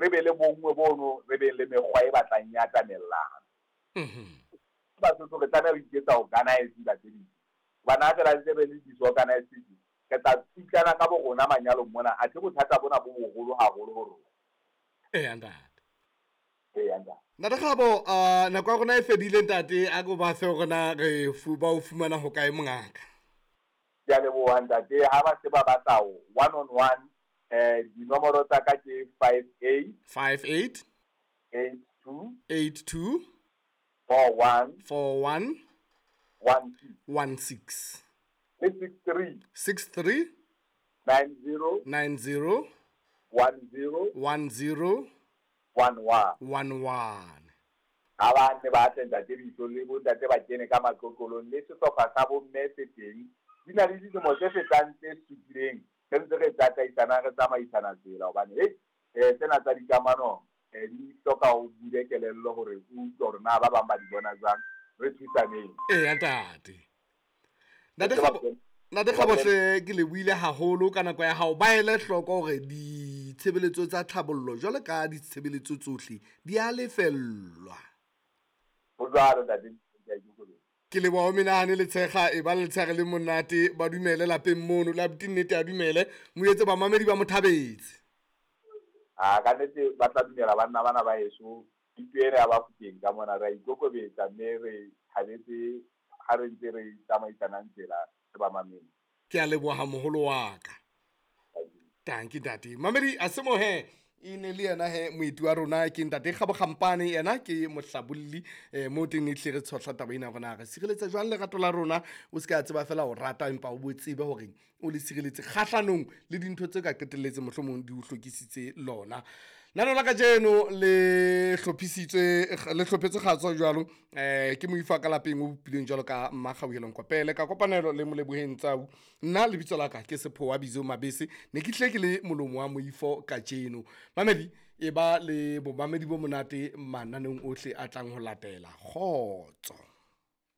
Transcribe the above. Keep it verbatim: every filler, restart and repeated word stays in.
re be le bonngwe bono, re be le mekgwa e batlang ya atamelana. Mhm. Basotho re tlameha ho iketsa organize dibaka tse ding. Hobane ha fela ntse re le disorganized, re tla tsitlana ka bo rona manyalong mona, athe bothata bona bo boholo haholo ho rona. Eya ntate. Eya ntate. Ntate Kgabo, uh, nako ya rona e fedile ntate, a ko ba fe hore na re fu ba o fumana ho kae mongaka. Ke a leboha ntate, ha ba se ba batla one on one, eh dinomoro tsa ka ke five eight five eight eight two eight two four one four one one six one six le six three six three nine zero nine zero one zero one zero one one one one. Ha ba ne ba tle ntate Bitso le bo ntate ba kene ka matlotlolong le sehlopha sa bo mme se teng, di na le dilemo tse fetang tse supileng re ntse re tataisana, re tsamaisana tsela, hobane hei eh tsena tsa dikamano eh di hloka ho bule kelello hore o utlwe hore na ba bang ba di bona jwang, re thusaneng. Eya ntate. Ntate Kgabo, Ntate Kgabo hle ke lebohile haholo ka nako ya hao. Ba ele hloko hore ditshebeletso tsa tlhabollo jwalo ka ditshebeletso tsohle di a lefellwa. Ho jwalo ntate, ke a ikokobetsa. Ke leboha ho menahane le tshekga, e ba le letshehare le monate, ba dumele lapeng mono, le abuti nnete a dumele, mo etse bamamedi ba mo thabetse. Ah, ka nnete ba tla dumela banna bana ba heso, thuto ena ya Bafokeng ka mona re a ikokobetsa mme re thabetse ha re ntse re tsamaisanang tsela le bamamedi. Ke a leboha moholo wa ka. Tanki ntate. Mamedi a se mo he, e ne le yena he moeti wa rona ke ntate Kgabo Kgampane, yena ke mohlabolli, eh, mo teng e hle re tshohla taba ena hore na re sireletsa jwang lerato la rona. O se ka tseba fela ho rata, empa o bo tsebe hore o le sireletse kgahlanong le dintho tse ka qetelletse mohlomong di o hlokisitse lona. Nano la kajeno le hlophisitswe, le hlophetswe kgatso jwalo, eh, ke moifo ka lapeng o bopilweng jwalo ka Mmakgauhelong Kopele ka kopanelo le Moleboheng Tsau. Nna lebitso la ka ke Sephowa Bizo Mabese, ne ke hle ke le molomo wa moifo kajeno. Mamedi, e ba le bomamedi bo monate mananeong ohle a tlang ho latela. Kgotso.